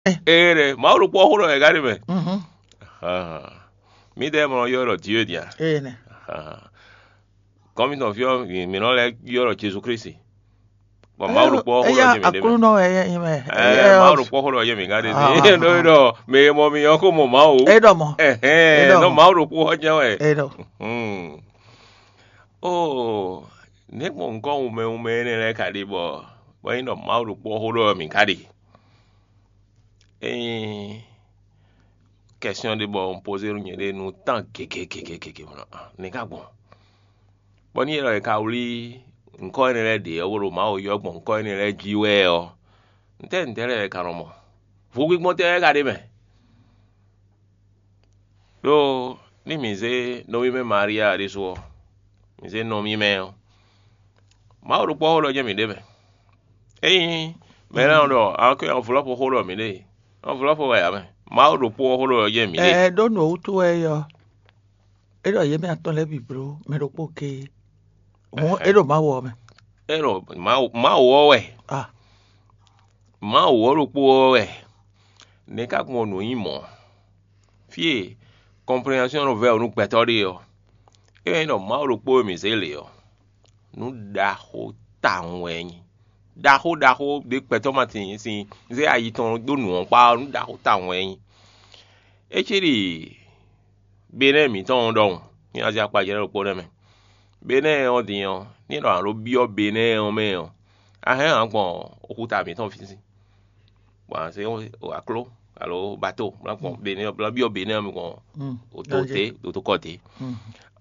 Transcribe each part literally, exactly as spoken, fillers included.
Ee ɖe, Mawu ɖokpó ɔ́ xó ɖɔ wɛ ká ɖe mɛ. Mǐdɛɛ mɔ ylɔ́ ɖɔ Dieu dia? Gɔ́n mitɔn fí ɔ́, mǐ nɔ lɛ́ ylɔ́ Jezu Klísu. Bɔ Mawu ɖokpó ɔ́ xó ɖɔ jɛ mǐ ɖe mɛ. Aklúnɔ wɛ nyí mɛ. Ɛɛ, Mawu ɖokpó xó ɖɔ jɛ mǐ ká ɖe mɛ. Ɖɔ mǐ ɔ́ ko mɔ Mawu. É ɖɔ mɔ. Ɛhɛn, nɔ Mawu ɖokpó ɔ́ jɛ́n wɛ. É ɖɔ. Ó, nɛ̌ gbɔn nǔkɔ wunmɛ wunmɛ énɛ́ lɛ́ɛ ka ɖe bɔ bɔ é nyí ɖɔ Mawu ɖokpó ɔ́ xó ɖɔ mǐ ka ɖe? Ényí kɛsyɔ́n ɖé bɔ un pozé nú nyɛɖée nú tán gěgé gěgé gěgé mɔ nɛ̌ ka gbɔn? Bɔ ní é ɖɔ è ka wlí nǔkɔ énɛ́ lɛ́ɛ ɖě ɔ́, bó ɖo Mawu ylɔ́ gbɔn nǔkɔ énɛ́ lɛ́ɛ jí wɛ ɔ́, ntɛ́ ntɛ́ lɛ́ɛ è ka nɔ mɔ? Vodúngbígbɔ́n tɛ́ wɛ ka ɖ'é mɛ? Đó ní mǐ zé nɔví mɛ Maria ɖésú ɔ́, mǐ zé nɔví mɛ ɔ́, Mawu ɖokpó ɔ́ xó ɖɔ jɛ́n mǐ ɖe mɛ. Ényí mɛ lɛ́ɛ nɔ ɖɔ a kɔn nyi avlɔ́pɔ́ xó ɖɔ mǐ ɖe, avlɔ́pɔ́ wɛ ǎ mɛ. Mawu ɖokpó ɔ́ xó ɖɔ jɛ́n mǐ ɖe. Ɛɛ ɖó nǔ ɔ́ wútu wɛ é ɔ́, é ɖɔ yě mɛ atɔn lɛ́ɛ bǐ bló mɛ ɖokpó géé. Hǔn é ɖo Mawu ɔ́ mɛ. É ɖɔ Mawu Mawu ɔ́ wɛ. Ah. Mawu ɔ́ ɖokpó ɔ́ wɛ. Nɛ̌ ka gbɔn nǔ nyí mɔ̌? Fí e kɔnpréhensyɔ́n nɔ vɛ́ ɔ́ nú gbɛtɔ́ ɖe ɔ́, é wɛ nyí ɖɔ Mawu ɖokpó e mǐ zé lě ɔ́, nǔ ɖaxó tawun wɛ é nyí. Ɖaxó ɖaxó ɖě gbɛtɔ́ ma sin sin zé ayi tɔn dó nǔ ɔ́ kpá ɔ́, nǔ ɖaxó tawun wɛ é nyí. É cí ɖi Benɛ́ɛ mǐtɔn ɔ́ ɖɔhun, ní a zé akpajlɛ́ ɖokpó nɛ́ mɛ. Benɛ́ɛ ɔ́ din ɔ́, ní è nɔ nǎ ɖó byɔ́ Benɛ́ɛ ɔ́ mɛ ɔ́, a hɛn ǎ gbɔn oxúta mǐtɔn fí sín, bɔ a nǎ zé akló alo bato bó ná gbɔn Benɛ́ɛ ɔ́, bó ná byɔ́ Benɛ́ɛ ɔ́ mɛ gbɔn òtó té, òtó kɔ té.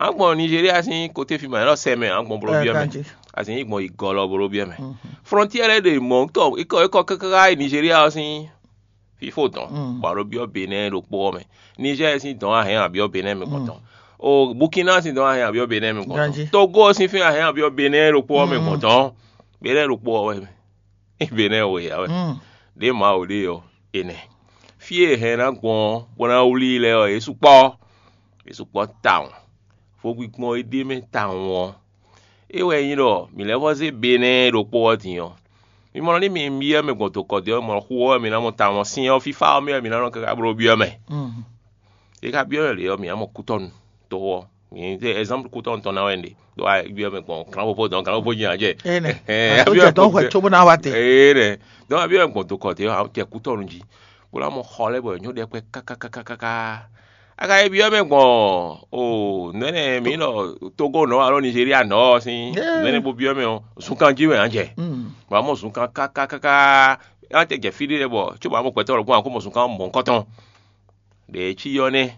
A gbɔn Nizeriya sín koté fi ma, è nɔ sɛ mɛ, a gbɔn bló byɔ́ mɛ. A sì nyí gbɔn yi gɔlɔ bló byɔ́ mɛ. Flɔ́ntiɛ́ lɛ́ɛ ɖe mɔ̌ tɔ é kɔ é kɔ káká yi Nizeriya ɔ́ sín fífó dɔn, bɔ a ɖo byɔ́ Benɛ́ɛ ɖokpó ɔ́ mɛ. Nizɛ́ɛ sín dɔn a hɛn a byɔ́ Benɛ́ɛ mɛ gbɔn tɔn. O Bukina sín dɔn a hɛn a byɔ́ Benɛ́ɛ mɛ gbɔn tɔn. Togo sín fɛ́n a hɛn a byɔ́ Benɛ́ɛ ɖokpó ɔ́ mɛ gbɔn tɔn. Benɛ́ɛ ɖokpó ɔ́ wɛ mɛ. Benɛ́ɛ wɛ ya wɛ. Ɖě Mawu ɖe ɔ́, enɛ. Fí e hɛn ná gbɔn ɔ́, bó ná wlí i lɛ́ɛ ɔ́, yě sukpɔ́. Yě sukpɔ́ tawun. Vodúngbígbɔ́n e ɖ'é mɛ tawun ɔ́, é wɛ nyí ɖɔ mǐ lɛ́ vɔ́ zé Benɛ́ɛ ɖokpó ɔ́ din ɔ́, mi mɔ nɔ ní mi byɔ́ mɛ gbɔn dokɔ́ din ɔ́, mɔ xu ɔ́ wɛ mi ná mɔ tawun ɔ́, sin ɔ́ fífá ɔ́ mɛ wɛ mi ná nɔ káká bló byɔ́ mɛ. È ka byɔ́ mɛ lě ɔ́, mǐ ná mɔ kútɔ́nu to ɔ́. Mǐ ɖe ɛzánplu kútɔ́nu tɔn ná wɛ un ɖe. Ɖó a byɔ́ mɛ gbɔn gǎnvóvó dɔn gǎnvóvó nyi ǎ jɛ. Ene. Ɛ, a byɔ́ mɛ gbɔn hwɛ cóbó ná wá te. Ee ɖɛ. Dɔn a byɔ́ mɛ gbɔn dokɔ te ɔ́, a jɛ kútɔ́nu jí. Bó ná mɔ xɔ lɛ́ bɔ è nyɔ́ ɖɛkpɛ kákákákáká. A ka yi byɔ́ mɛ gbɔn o nɛnɛ mǐ nɔ Togo nɔ alo Nigeria nɔ ɔ́ sín nɛnɛ bó byɔ́ mɛ ɔ́, zunkan jí wɛ a jɛ. Bɔ a mɔ zunkan kákákáká. A tɛ jɛ fí ɖé bɔ cóbó a mɔ gbɛtɔ́ ɖokpó a kó mɔ zunkan mɔ̌hunkɔtɔn. Ɖě e cí ɔ́ nɛ́.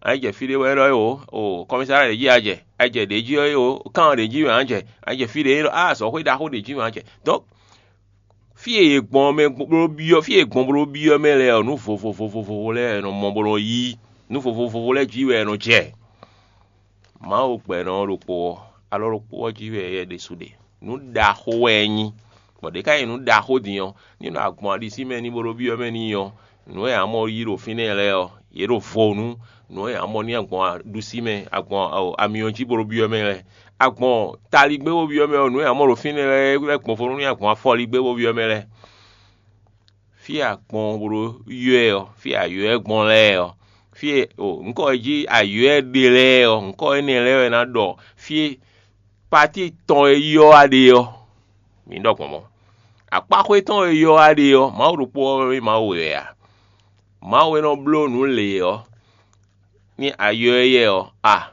A yi jɛ fí ɖé wɛ élɔ́ é o, o kɔmísára ɖě jí a jɛ, a yi jɛ ɖě jí ɔ́ é o, kán ɖě jí wɛ a jɛ, a yi jɛ fí ɖé élɔ́, a azɔ̌xwé ɖaxó ɖě jí wɛ a jɛ. Donc fí e è gbɔn mɛ bó byɔ́, fí e è gbɔn bó byɔ́ mɛ lɛ́ɛ ɔ́, nǔ vovovovovo lɛ́ɛ è nɔ mɔ bó nɔ yí, nǔ vovovovo lɛ́ɛ jí wɛ è nɔ jɛ. Mawu gbɛ̌nɔ ɔ́ ɖokpó ɔ́, alɔ ɖokpó ɔ́ jí wɛ yɛ ɖésú ɖe. Nǔ ɖaxó wɛ é nyí, bɔ ɖě ká nyí nǔ ɖaxó din ɔ́, ní nɔ agbɔn aɖisí mɛ ní bó ɖó byɔ́ mɛ n'i ɔ́, nǔ e ǎ mɔ yí ɖo fínɛ́ lɛ́ɛ ɔ́, yě ɖo vo nú nǔ e ǎ mɔ ní agbɔn aɖusí mɛ, agbɔn amyɔ jí bó ɖó byɔ́ mɛ lɛ́ɛ. Agbɔn taligbé bó byɔ́ mɛ ɔ́, nǔ e ǎ mɔ ɖo fínɛ́ lɛ́ɛ é wɛ gbɔn vo nú ní agbɔn afɔligbé bó byɔ́ mɛ lɛ́ɛ. Fí e a gbɔn bó ɖó ylɔ́ ɛ ɔ́, fí e a ylɔ́ ɛ gbɔn lɛ́ɛ ɔ́, fí e o nǔkɔ e jí a ylɔ́ ɛ ɖe lɛ́ɛ ɔ́, nǔkɔ énɛ́ lɛ́ɛ wɛ ná ɖɔ fí e patíi tɔn e ylɔ́ a ɖe ɔ́. Mǐ ɖɔ gbɔn mɔ̌. Akpáxwé tɔn e ylɔ́ a ɖe ɔ́, Mawu ɖokpó ɔ́ wɛ nyí Mawu wɛ ǎ. Mawu e nɔ bló nǔ lě ɔ́, ní a ylɔ́ éyɛ́ ɔ́, a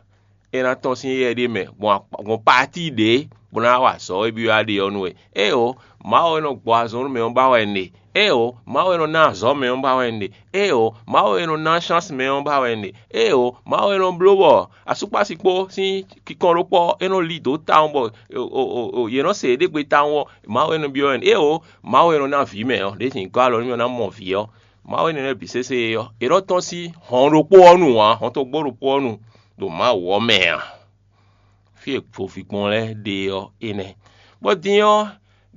é ná tɔ́n sín éyɛ́ ɖé mɛ gbɔn akpa- gbɔn patíi ɖě bó ná wa azɔ̌ e byɔ́ a ɖe ɔ́ nú we. Éeǒ, Mawu e nɔ gbɔ azɔn nú mɛ ɔ́ ba wɛ un ɖe. Éeǒ, Mawu e nɔ ná azɔ̌ mɛ ɔ́ ba wɛ un ɖe. Éeǒ, Mawu e nɔ ná sháns mɛ ɔ́ ba wɛ un ɖe. Éeǒ, Mawu e nɔ bló bɔ asúkpási kpó sín kinkɔn ɖokpó ɔ́, é nɔ lí dǒ tawun bɔ o- o- o- o- yě nɔ se yěɖée gbe tawun ɔ́, Mawu e nɔ byɔ́ wɛ un ɖe. Éeǒ, Mawu e nɔ ná vǐ mɛ ɔ́, ɖěsin gɔ́ alɔ nú mì ɔ́ ná mɔ vǐ ɔ́. Mawu énɛ́ lɛ́ɛ bǐ sésé ɔ́, è nɔ tɔ́n sín hɔn ɖokpó ɔ́ nu ǎ, hɔn togbó ɖokpó ɔ́ nu ɖo Mawu ɔ́ mɛ ǎ. Fí e voví gbɔn lɛ́ɛ ɖe ɔ́, é nɛ́. Bɔ din ɔ́,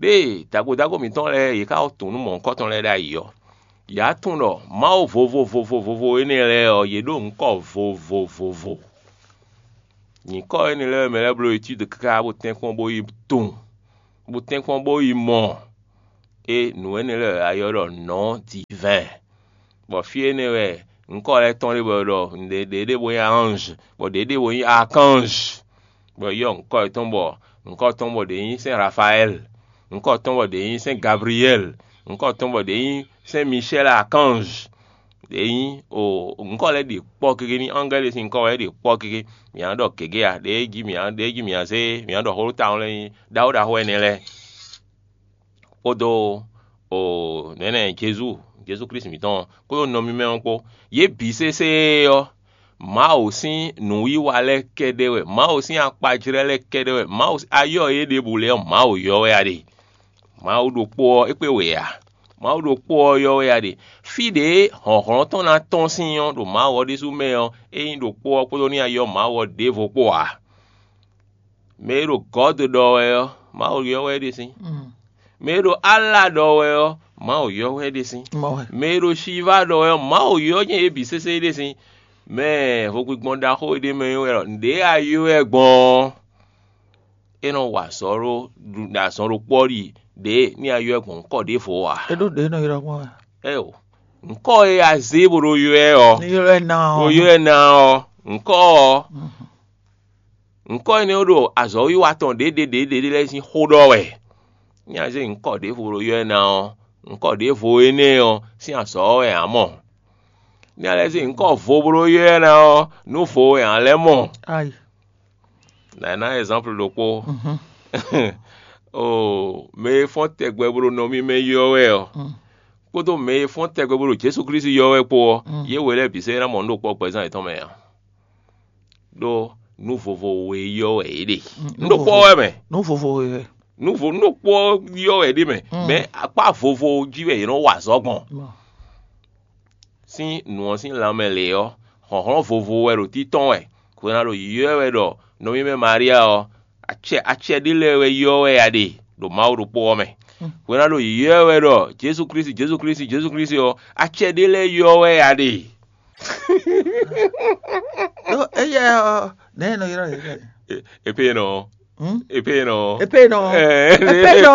ɖěe dagodago mǐtɔn lɛ́ɛ yě ká tunwun nú mɔ̌hunkɔtɔn lɛ́ɛ ɖ'ayǐ ɔ́, yě wá tunwun ɖɔ Mawu vovo vovo vovo énɛ́ lɛ́ɛ ɔ́, yě ɖo nǔkɔ vovovovo. Nyǐkɔ énɛ́ lɛ́ɛ mɛ lɛ́ɛ bló etídu káká bó tɛ́nkpɔ́n bó yi tunwun, bó tɛ́nkpɔ́n bó yi mɔ. É nǔ énɛ́ lɛ́ɛ wɛ a ylɔ́ ɖɔ nɔ̌ divɛn. Bɔ fí énɛ́ wɛ ŋkɔ́ lɛ́ɛ tɔn ɖé bɔ è ɖɔ ɖě ɖě ɖé bo nyí ange, bɔ ɖě ɖé bo nyí archange, bɔ è ylɔ́ ŋkɔ́ yětɔn bɔ ŋkɔ́ tɔn bɔ ɖě nyí sɛ́n Rafaɛ́li, ŋkɔ́ tɔn bɔ ɖě nyí sɛ́n Gabliyɛ́li, ŋkɔ́ tɔn bɔ ɖě nyí sɛ́n Michɛ́li archange. Ɖě nyí o ŋkɔ́ lɛ́ɛ ɖě kpɔ́ gégé ní angɛ́li sín ŋkɔ́ wɛ é ɖě kpɔ́ gégé. Mǐ ná ɖɔ gěgé a? Ɖěe jí mǐ ná ɖěe jí mǐ ná zé mǐ ná ɖɔ xó ɖó tawun lɛ́ɛ nyí ɖaxó ɖaxó ɛnɛ lɛ́ɛ. Kpódó o nɛ̌nɛ Jezu Jezu Klísu mǐtɔn ɔ́, kpódó nɔ mímɛ́ ɔ́ kpó. Yě bǐ sésé ɔ́, Mawu sín nǔwiwa lɛ́ɛ kɛ́ɖɛ́ wɛ, Mawu sín akpajlɛ́ lɛ́ɛ kɛ́ɖɛ́ wɛ, Mawu ayɔ́ e é ɖěbǔ lɛ́ɛ ɔ́, Mawu ylɔ́ wɛ a ɖe. Mawu ɖokpó ɔ́, é kpé wě ǎ. Mawu ɖokpó ɔ́ ylɔ́ wɛ a ɖe. Fí ɖě hlɔ̌nhlɔ́n tɔn ná tɔ́n sín ɔ́, ɖo Mawu ɔ́ ɖésú mɛ ɔ́, é nyí ɖokpó ɔ́ kpódó ní ayɔ́ Mawu ɔ́ ɖěvo kpó ǎ. Mɛ e ɖo Gɔ̌d ɖɔ wɛ ɔ́, Mawu ylɔ́ wɛ é ɖe sín. Mɛ e ɖo Ala ɖɔ wɛ ɔ́, Mawu ylɔ́ wɛ é ɖe sín. Mɛ e ɖo Shiva ɖɔ wɛ ɔ́, Mawu ylɔ́ nyɛ yě bǐ sésé é ɖe sín. Mɛ hwegbígbɔn ɖaxó e ɖ'é mɛ é wɛ ɖɔ nǔɖé a ylɔ́ ɛ gbɔn ɔ́, é nɔ wa azɔ̌ ɖó ɖo azɔn ɖokpó ɔ́ ɖi ɖě ní a ylɔ́ ɛ gbɔn ŋkɔ ɖěvo ǎ. É ɖó ɖě nɔ ylɔ́ gbɔn wɛ. Ɛ́ o, ŋkɔ e a zé bó ɖo ylɔ́ ɛ ɔ́, Ní ylɔ́ ɛ ná bó ɔ́. Ylɔ́ ɛ ná ɔ́, ŋkɔ ɔ́, ŋkɔ énɛ́ ɔ́ ɖo azɔ̌wiwa tɔn ɖěɖěɖěɖě lɛ́ɛ sín xó ɖɔ wɛ. Ní a zé ŋkɔ ɖěvo ɖo ylɔ́ ɛ ná ɔ́, ŋkɔ ɖěvo énɛ́ ɔ́ sín azɔ̌ wɛ ǎ mɔ. Ní a lɛ́ zé ŋkɔ vo bó ɖo ylɔ́ ɛ ná ɔ́, nǔ vo wɛ ǎ lɛ́ mɔ. Ayi. Nǎ ná ɛzánplu ɖokpó. Oo, mɛ e fɔ́n tɛgbɛ bó ɖo nɔ mímɛ́ ylɔ́ wɛ ɔ́, kpódó mɛ e fɔ́n tɛgbɛ bó ɖo Jezu Klísu ylɔ́ wɛ kpó ɔ́, yě wě lɛ́ɛ bǐ sɛ́ ná mɔ nǔ ɖokpó ɔ́ gbɛzán yětɔn mɛ ǎ. Ɖó nǔ vovo we ylɔ́ wɛ yě ɖe. Nǔ ɖokpó ɔ́ wɛ mɛ. Nǔ vovo we wɛ. Nǔ vo nǔ ɖokpó ɔ́ ylɔ́ wɛ ɖ'é mɛ. Mɛ akpá vovo jí wɛ yě nɔ wa azɔ̌ gbɔn. Sín nǔ ɔ́ sín lanmɛ lě ɔ́, hlɔ̌nhlɔ́n vovo wɛ ɖo títɔn wɛ. Hwena ɖo yǐyɔ́ ɛ wɛ ɖɔ nɔví mɛ Maria ɔ́, acɛ acɛ ɖé lɛ́ɛ wɛ ylɔ́ wɛ a ɖe ɖo Mawu ɖokpó ɔ́ mɛ. Hwena ɖo yǐyɔ́ ɛ wɛ ɖɔ Jezu Klísu, Jezu Klísu, Jezu Klísu ɔ́, acɛ ɖé lɛ́ɛ ylɔ́ wɛ a ɖe. Ɖó éyɛ́ ɔ́, nɛ̌ è nɔ ylɔ́ yě? Epénɔ. Epénɔ. Epénɔ. Epénɔ.